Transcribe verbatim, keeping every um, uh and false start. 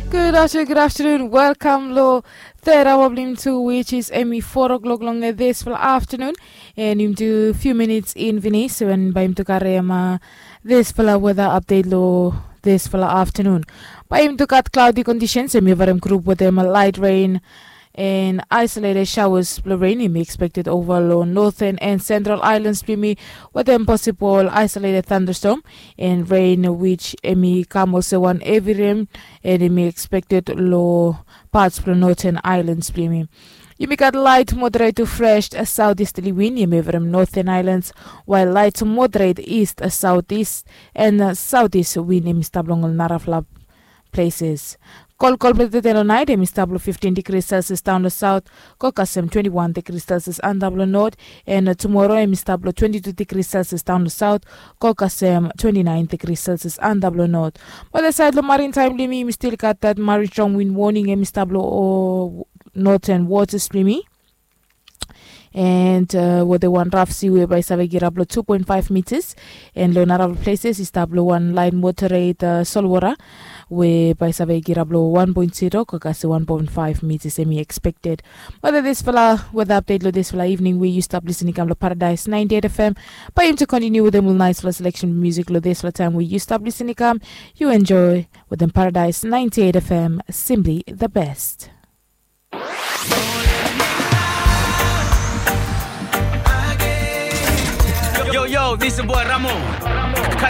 Gud aftenun, gud aftenun. Welkam long third hour blong yumi tu, which is emi four o'clock long dispela aftenun. And yumi tu few minutes in finis, and bae yumi tu karim uh, dispela weather update long dispela aftenun. Bae yumi tu gat cloudy conditions, emi yavarim group wetem light rain and isolated showers blong rain emi expected over long northern and central islands blong yumi, wetem possible isolated thunderstorm and rain, which emi kam olsem wan heavy rain, and emi expected long parts blong northern islands blong yumi. Yumi gat light moderate to fresh southeasterly wind emi yavarim northern islands, while light moderate east southeast and southeast wind emi stap long ol narafala places. Kolkol blong tete long nait emi stap long fifteen degrees celsius daun long south, go kasem twenty-one degrees celsius antap long north, and tumoro emi stap long twenty-two degrees celsius daun long south, go kasem twenty-nine degrees celsius antap long north. But the side long marine time blong yumi, yumi still gat that marine strong wind warning emi stap long northern waters blong yumi. And uh, wetem wan raf sea we bae save girap long two point five meters, and long narafala places i stap long wan light moderate uh, solwara we bae save girap long one point zero go kasem one point five meters emi expected. But dispela weather update long dispela evening we yu stap listening kam long Paradise ninety-eight F M. Bae yumi tu continue wetem ol nice fala selection music long dispela time we yu stap listening kam. Yu enjoy wetem Paradise ninety-eight F M, simply the best. Yo, yo, this is boy Ramo.